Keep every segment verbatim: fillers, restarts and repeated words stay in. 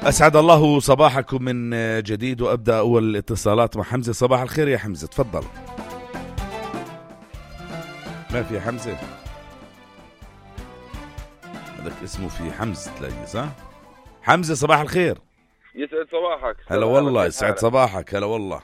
أسعد الله صباحكم من جديد، وأبدأ أول الاتصالات مع حمزة. صباح الخير يا حمزة، تفضل. ما في حمزة، هذاك اسمه في حمزة تلاقيه صح؟ حمزة صباح الخير. يسعد صباحك. هلا والله، يسعد صباحك. هلا والله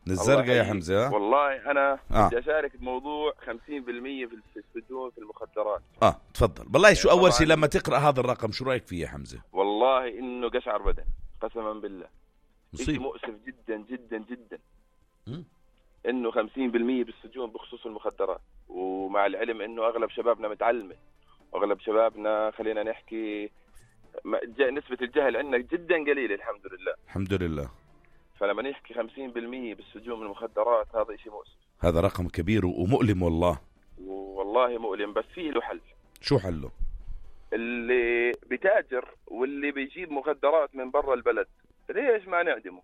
من الزرقاء يا حمزة. ها؟ والله أنا آه. بدي أشارك بموضوع خمسين بالمية في السجون في المخدرات. اه تفضل. بالله شو أول شيء لما تقرأ هذا الرقم شو رأيك فيه يا حمزة؟ والله إنه قشعر بدن قسما بالله، مصيب مؤسف جدا جدا جدا م? إنه خمسين بالمية بالسجون بخصوص المخدرات، ومع العلم إنه أغلب شبابنا متعلمة، وأغلب شبابنا خلينا نحكي نسبة الجهل عندنا جدا قليلة الحمد لله. الحمد لله. فلما نحكي خمسين بالمية بالسجون من المخدرات هذا إشي مؤسف، هذا رقم كبير ومؤلم والله. والله مؤلم، بس فيه له حل. شو حله؟ اللي بتاجر واللي بيجيب مخدرات من برا البلد ليش ما نعدمه؟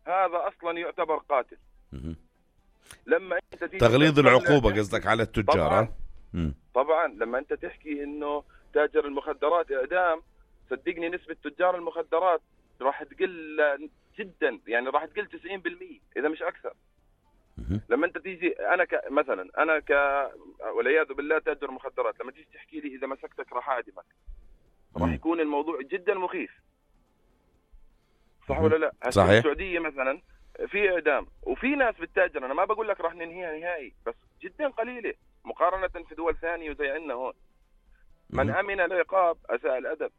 هذا أصلا يعتبر قاتل. م- لما انت تغليظ العقوبة قصدك على التجار. طبعا, م. طبعا لما انت تحكي انه تاجر المخدرات اعدام، صدقني نسبة تجار المخدرات راح تقل جدا، يعني راح تقل تسعين بالمية اذا مش اكثر. م- لما انت تيجي انا ك... مثلا انا ك والعياذ بالله تاجر مخدرات، لما تيجي تحكي لي اذا مسكتك راح اعدمك، راح يكون الموضوع جدا مخيف، صح ولا لا؟ صحيح. في السعودية مثلا في اعدام وفي ناس بالتاجر، انا ما بقول لك راح ننهيها نهائي، بس جدا قليله مقارنه في دول ثانيه وزي عندنا هون. من امن العقاب اساء الادب.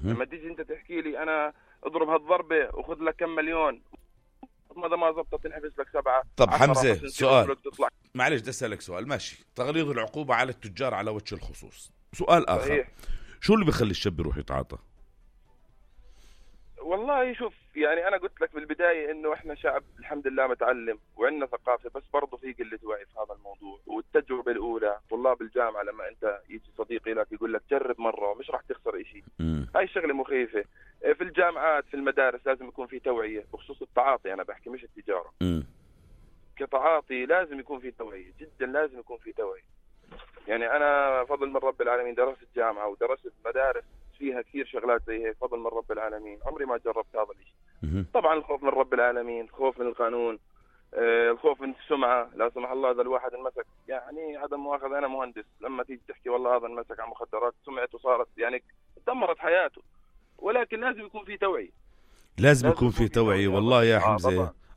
لما تيجي انت تحكي لي انا اضرب هالضربه وخذ لك كم مليون، ماذا ما زبطت تنحبس لك سبعه. طب حمزه سؤال، معلش بدي اسالك سؤال. ماشي، تغليظ العقوبه على التجار على وجه الخصوص. سؤال اخر، صحيح. شو اللي بيخلي الشاب يروح يتعاطى؟ والله شوف، يعني أنا قلت لك بالبداية إنه إحنا شعب الحمد لله متعلم وعندنا ثقافة، بس برضه في قلة وعي في هذا الموضوع. والتجربة الأولى طلاب الجامعة، لما أنت يجي صديقي لك يقول لك جرب مرة ومش راح تخسر إشي، هاي الشغلة مخيفة. في الجامعات في المدارس لازم يكون في توعية بخصوص التعاطي، أنا بحكي مش التجارة. م. كتعاطي لازم يكون في توعية، جدا لازم يكون في توعية. يعني أنا فضل من رب العالمين درست الجامعة ودرست مدارس فيها كثير شغلات زي هيك، فضل من رب العالمين عمري ما جربت هذا الشيء. طبعا الخوف من رب العالمين، الخوف من القانون، آه الخوف من السمعة، لا سمح الله إذا الواحد انمسك، يعني عدم مؤاخذة أنا مهندس، لما تيجي تحكي والله هذا انمسك على مخدرات سمعته صارت يعني دمرت حياته. ولكن لازم يكون في توعية، لازم, لازم يكون في توعية. والله يا حمزة،